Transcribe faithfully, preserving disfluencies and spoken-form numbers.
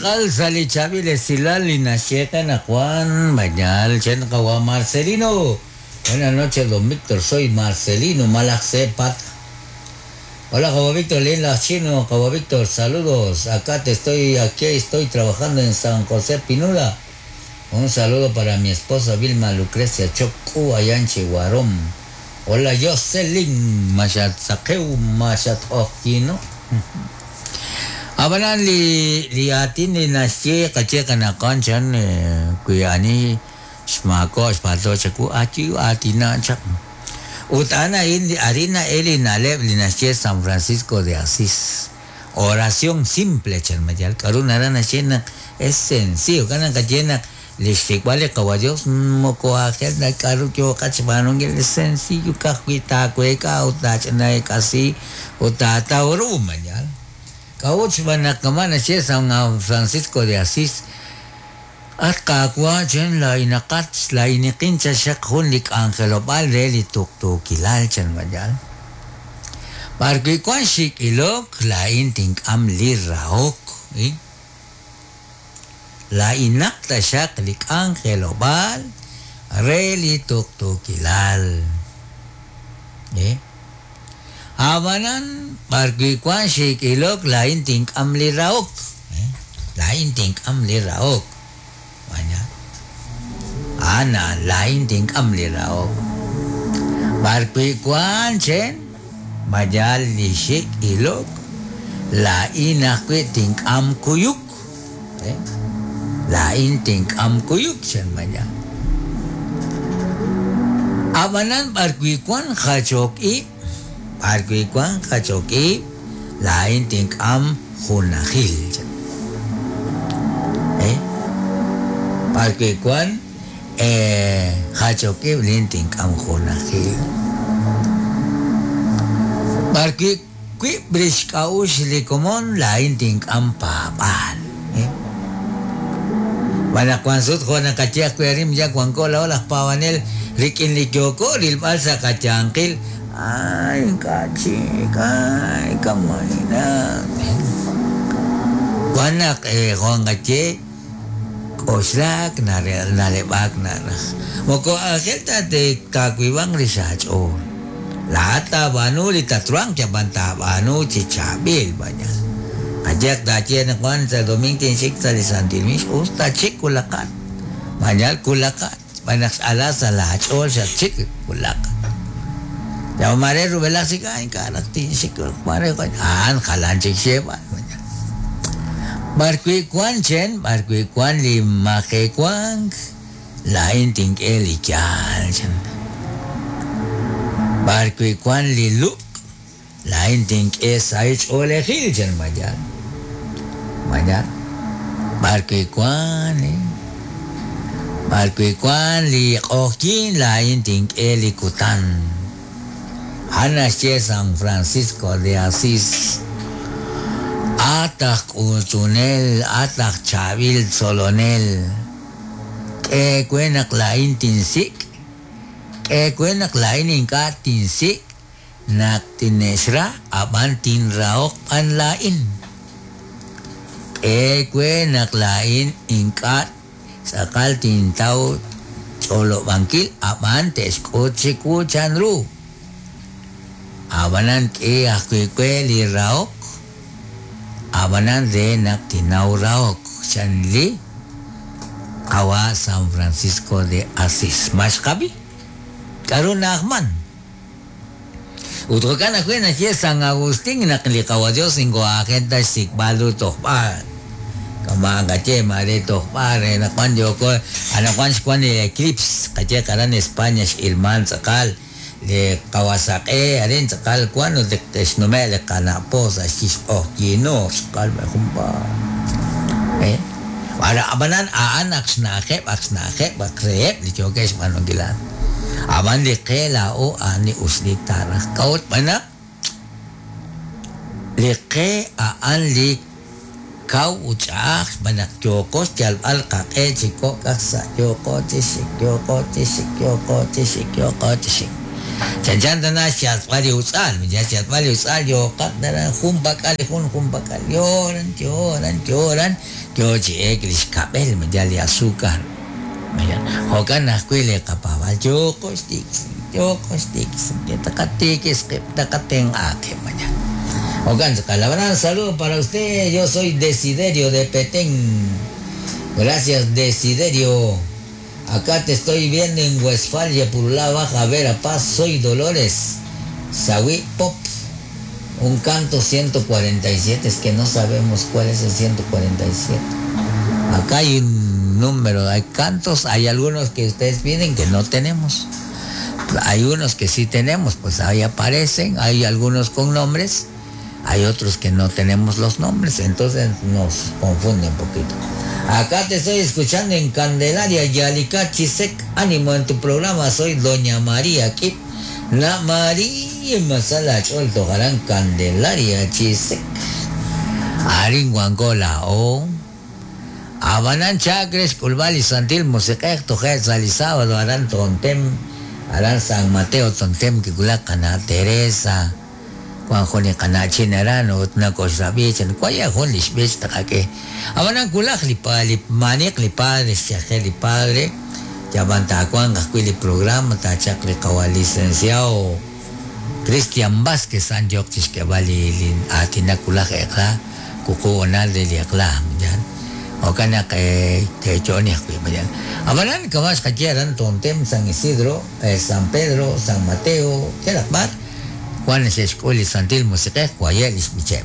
tz'aqal sa' li chaab'il esilal li naxye Juan Mañal chen qawa Marcelino. Buenas noches, don Víctor, soy Marcelino Malacsepat. Hola, Javo Víctor, Lin Chino, Javo Víctor, saludos. Acá te estoy, aquí estoy trabajando en San José Pinula. Un saludo para mi esposa Vilma Lucrecia Chocu, allá en Chihuarón. Hola, Jocelyn, Machat Sakeu, Machat Ojquino. Abanan li li atin li naxye qache qanaqan chan kuyani xmako xpato chaku achi atina chak. Utana in harina eli naleb li naxye San Francisco de Asís. Oración simple chan mayal karuna rana chena es sencillo kanan kachena lixtikwale qawa Dios moko ajel na karu kyo kachbanongel es sencillo kajwita kueka utachna kasi utata oru mayal. Kauch banakamana che San Francisco de Asís. At kaakwa chen la inakat la inikin cha shak jun lik angelopal re li tuktukilal chen mayal. Parque kwan shik ilok la intink am li raok. Eh? La inakta shak lik angelopal re li tuktukilal. Eh? Abanan parque kwan shik ilok la intink am li raok. Eh? La intink am li raok. Banyak. Ana la intink am li raok. Parque kwan chen mayal li shik ilok la inakwe tink am kuyuk. Eh? La intink am kuyuk chen mayal. Abanan parque kwan hachok i parque kwan hachok i la intink am junajil chen. Eh? Parque kwan eh hachok i lintink am junajil. Parque kui brish kaush li komon la intink am papal. Eh? Bana kwan sut jona kachiak kuerim ya kwan kola olas pavanel rikin li kyoko ril balsa kachankil. Ay kachik ay kamanina. Wanak eh juan kache oslak nare nalebak nara. Moko ajelta te kakuibang risach o. La banu li tatruang chaban banu chichabil banyak. Ajak dache na kwan sa domingo tinsik sa lisantilmis usta chik kulakat. Manyal kulakat. Banak ala sa lahat ol sa chik kulakat. Ya mare rubela sika in karak tinsik mare kwan an kalan chik sheba. Barkui kwan chen barkui kwan li make kwan la intink eli kyal chen. Barkui kwan li luk la intink es aich olejil chen mayal. Mayal. Barkui kwan eh. Barkui kwan li okin la intink eli kutan. Hanache San Francisco de Asís. Atak utunel, atak chavil solonel. Que kuenak la intinsik. Que kuenak la ininka tinsik. Nak tinesra aban tinraok an lain. Que kuenak lain inka sakal tintau cholo bangkil aban teskuchiku chanru. Abanan ke akwe li raok. Abanan de nak tinau raok. Chanli kawa San Francisco de Asís. Mashkabi. Karuna Ahman. Utrokan akwe na siya San Agustín naklikawa Dios ingo agenda sikbalu tohpan. Kama kache mare tohpan nakwan yoko anakwan shkwan eclipse kache karan España ilman sakal le Kawasaki arin sakal kwan no de tesnume le kanapo sa shis oh kino sakal humpa. Eh Para abanan aan aksnakep aksnakep bakrep li chokesh manogilan. Aban li qela o ani usli tarah kaut mana li qe aan li kau uchach manak yokos yal al qaqe chiko kasa yoko tisik yoko tisik yoko tisik yoko tisik. Chanchan tana xyatz'b'al li utz'al, ya xyatz'b'al li utz'al yooqat nara jun pak'al jun jun pak'al yoran yoran yoran yo chi ek li xkab'el ya li azúcar. Jo'kan ajwi' li qapaab'al yooqo xtikis yooqo xtikis taqatikis qib' taqatenq'a qib' mañana. Jo'kan tz'aqal saludo para usted, yo soy Desiderio de Petén. Gracias, Desiderio. Acá te estoy viendo en Westfalia, Purulá Baja, Verapaz. Soy Dolores. Sawi Pop. Un canto ciento cuarenta y siete. Es que no sabemos cuál es el ciento cuarenta y siete. Acá hay un número, hay cantos, hay algunos que ustedes piden que no tenemos. Hay unos que sí tenemos, pues ahí aparecen. Hay algunos con nombres, hay otros que no tenemos los nombres, entonces nos confunde un poquito. Acá te estoy escuchando en Candelaria, Yalica, Chisec. Ánimo en tu programa, soy Doña María aquí. La María Masala Cholto Jarán Candelaria, Chisec. Arin Guangola, o. Abanan Chacres, Culval y Santil, Musiquej, Tojet, Salisábado, Arán Tontem, Arán San Mateo, Tontem, Kikulacana, Teresa. Juan Joni Kanachin Aran, Utna Kosabichan, Cuaya Jun Lishbich, Takake. Abanan Kulaj, li li Maniq, li padre, Xajel, li padre, Yabanta Juan, Gascuili programa, Tachak, li Kawa, licenciado Cristian Vázquez, San Yochis, que vale, Atina Kulaj, Ekla, Kuku Onal de Liakla, ya. Okana que te choni, ya. Abanan Kamash Kachiaran, Tontem, San Isidro, San Pedro, San Mateo, Kerakbar. Juan es escuela Santil Musiquej, Cuayel, Ismichem.